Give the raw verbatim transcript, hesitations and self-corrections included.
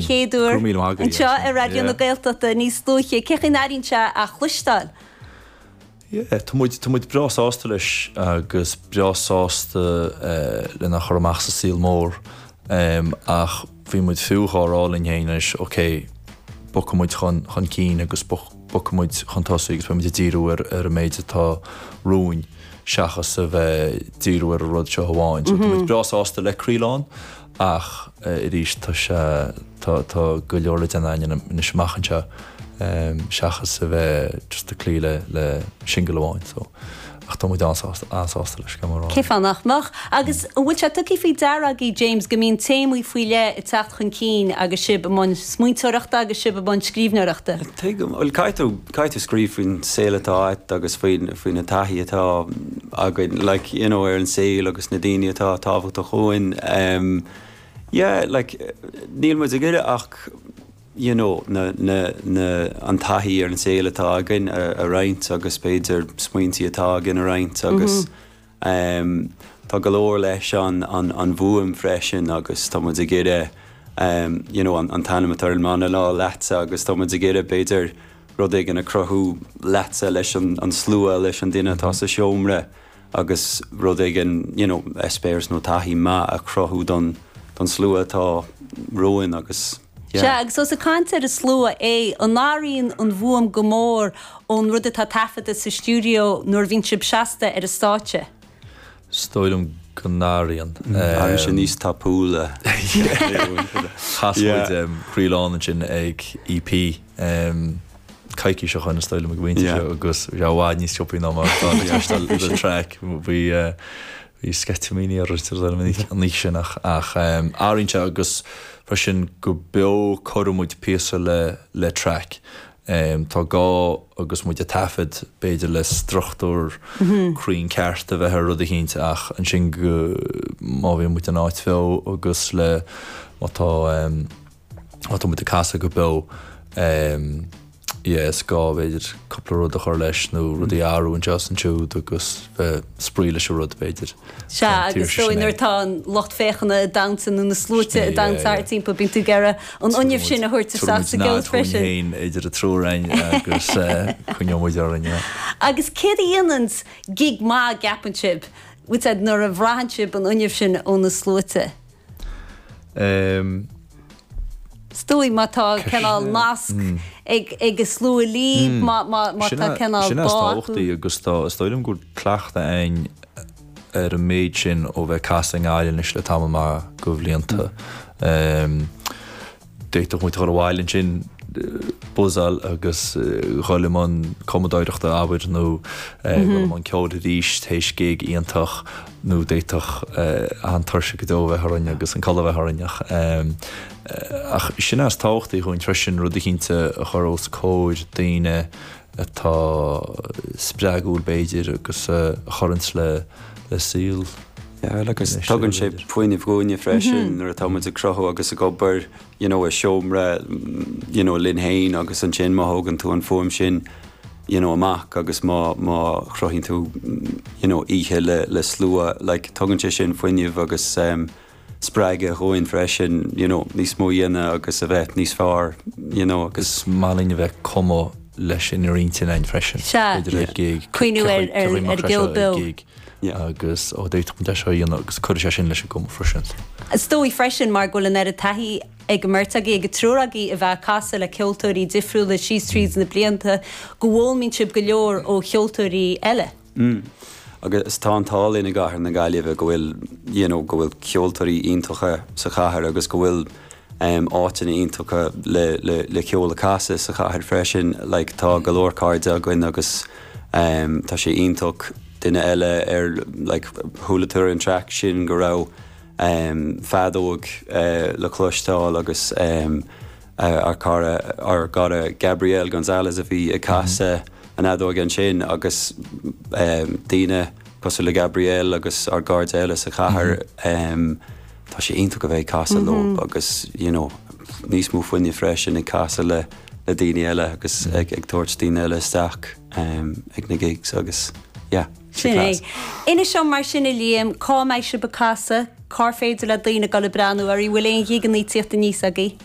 chéad uair anseo ar Raidió na Gaeltachta níos luaithe, cén chaoi a n-airíonn sé a chloisteáil? Yeah, tá muid tá muid breá sásta leis agus breá sásta lena chur amach sa saol mór ach bhí muid fiú dhá rá linn féin anois, ok, bogfaidh muid chun chun cinn agus bogfaidh muid chun tosaigh agus beidh muid ag díriú ar ar an méid atá romhainn seachas a bheith ag díriú ar an rud seo amháin. So tá muid breá sásta le Croílán ach arís tá sé tá tá go leor le déanamh againn anois amach anseo seachas a bheith just ag cloí le le singil amháin so ach tá muid an-sásta an-sásta leis gan mórán. Cén fáth nach mbeadh? Agus an bhfuil sé tugtha faoi deara agaibh James go mbíonn téamaí faoi leith ag teacht chun cinn agus sibh i mbun smaointeoireachta agus sibh i mbun scríbhneoireachta? Tuigim, bhuel caithfidh tú caithfidh tú scríobh faoin saol atá agat agus faoin faoi na taithí atá againn like you know ar an saol agus na daoine atá tábhachtach dhúinn. Um, yeah, like níl muid ag iarraidh ach you know, na, na, na, an taithí ar an saol atá againn a, a roinnt agus b'fhéidir smaointí atá againn a roinnt agus mm -hmm. um, tá go leor leis an, an, an bhfuaim freisin agus tá muid ag iarraidh um, you know, an, an t-ainm atá ar an mbanna ná Leatsa agus tá muid ag iarraidh b'fhéidir rud éigin a chruthú leatsa leis an, an slua leis an duine atá sa seomra agus rud éigin you know, eispéireas nó taithí maith a chruthú don, don slua atá romhainn agus Yeah. Sea, agus ós ag caint ar an slua é, an n-athraíonn an bhfuaim go mór ón rud atá taifeadta sa stiúideo nuair a bhíonn sibh seasta ar an stáitse? Is dóigh liom go n-athraíonn. Athraíonn sé níos tapúla. Chas muid Croílán ansin ag EP coicís ó shin is dóigh liom ag bhaint seo agus bhí sé i bhfad níos siopaí ná mar atá le track. Bhí bhí sceitimíní ar an oíche sin ach ach athraíonn sé agus freisin go beo cuireann muid píosa le le track. Tá gá agus muid ag taifead b'fhéidir le struchtúr cruinn ceart a bheith ar rud eicínt ach ansin go má bhíonn muid in áit bheo agus le má tá má tá muid ag casadh go beo yeah is gá b'fhéidir cúpla rud a chur leis nó rudaí a athrú anseo is ansiúd agus bheith spraoi leis an rud b'fhéidir. Sea, agus dóigh nuair atá an lucht féachana ag damhsa nó na sluaite ag damhsa thart timpeall, bíonn tú ag iarraidh an fhuinneamh sin a thabhairt isteach sa gceol freisin. Féin idir an triúr againn agus coinneoidh muid orainn, yeah. Agus céard a dhéanann gig maith, an gceapann sibh, bhfuil a fhios agat, nuair a bhraitheann sibh an fhuinneamh sin ó na sluaite? Um. Is dóigh má tá cineál nasc ag ag an slua libh, má má má tá cineál Sin é bá is acu. tábhachtaí agus tá, is dóigh liom go bhfuil cleachtadh againn ar an méid sin ó bheith ag casadh i nGaillimh anois le tamall maith de bhlianta. D'fhéadfadh muid a dhul abhaile ansin, buzzáil agus dhul i mbun cumadóireachta, abair, nó dhul i mbun ceoil arís théis gig iontach nó d'fhéadfadh an-tuirse go deo a bheith orainn agus an codladh a bheith orainn ach ach sin é is tábhachtaí dhúinn freisin, rud eicínt a chur os comhair daoine atá spreagúil b'fhéidir agus a chuireanns le le saol. Yeah, agus tugann sé fuinneamh dhúinne freisin nuair atá muid ag cruthú agus ag obair you know, i seomra you know, linn féin agus ansin má thógann tú an fuaim sin you know, amach agus má má chruthaíonn tú you know, oíche le le slua like, tugann sé sin fuinneamh agus um, spreagadh dhúinn freisin you know, níos mó a dhéanamh agus a bheith níos fearr you know, agus Is maith linn a bheith ag cumadh leis sin ar intinn againn freisin. Sea. B'fhéidir ar gig. Cuimhniú ar- ar- Cé chaoi ar ar gceol beo. gig agus ó d'fhéadfadh muid é seo a dhéanamh agus cuirfidh sé sin leis an gcumadh freisin. Is dóigh freisin mar go bhfuil an oiread taithí ag an mbeirt agaibh, ag an triúr agaibh a bheith ag casadh le ceoltóirí difriúla síos tríd na blianta, go bhfoghlaimíonn sibh go leor ó cheoltóirí eile. Mm. Agus tá an t-ádh linn i gcathair na Gaillimhe go bhfuil you know go bhfuil ceoltóirí iontacha sa chathair agus go bhfuil um áiteanna iontacha le le le ceol a casadh sa chathair freisin. Like tá go leor cairde againn agus um tá sé iontach duine eile ar like chuala tú ar an track sin go raibh um feadóg uh le cloisteáil agus um ár cara ár gcara Gabriel Gonzalez a bhí ag casadh an fheadóg ansin agus daoine cosúil le Gabriel agus ár gcairde eile sa chathair tá sé iontach a bheith ag casadh leo agus you know níos mó fuinnimh freisin ag casadh le le daoine eile agus ag ag tabhairt daoine eile isteach ag na gigs agus yeah Sin é. Inis dom mar sin a Liam, cá mbeidh sibh ag casadh, cár féidir le daoine dul ag breathnú oraibh, bhfuil aon ghigeanna ag tíocht aníos agaibh?